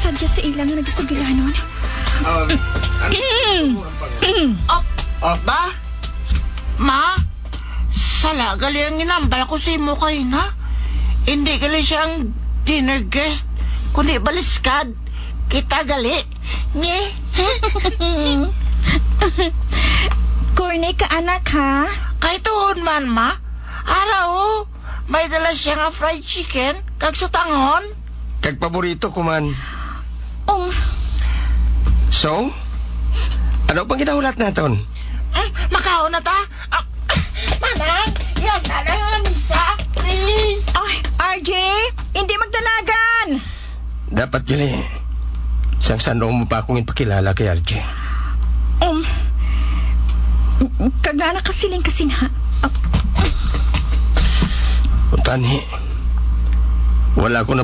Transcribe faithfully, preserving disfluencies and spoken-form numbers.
Diya sa ila nga nagasugilanon. Um, ano? Oh, oh, ba? Ma? Sala gali ang ginambal ko sa imo kay na. Hindi gali siya ang dinner guest, kundi baliskad. Kita gali. Nge? Corny ka, anak, ha? Kay tuod man, ma. Ara, oh. May dala siya nga fried chicken, kag sutanghon. Kag paborito ko man. Um. So, ano pang ginahulat naton? Mm, makaon na ta. Ah, Manang, yan na lang ang misa, please. Ay, R J, hindi magdalagan. Dapat gali, sang san-o mo pa akong ipakilala kay R J. Um, kag na nakasiling ka sinha. Ah. Utani, wala ko na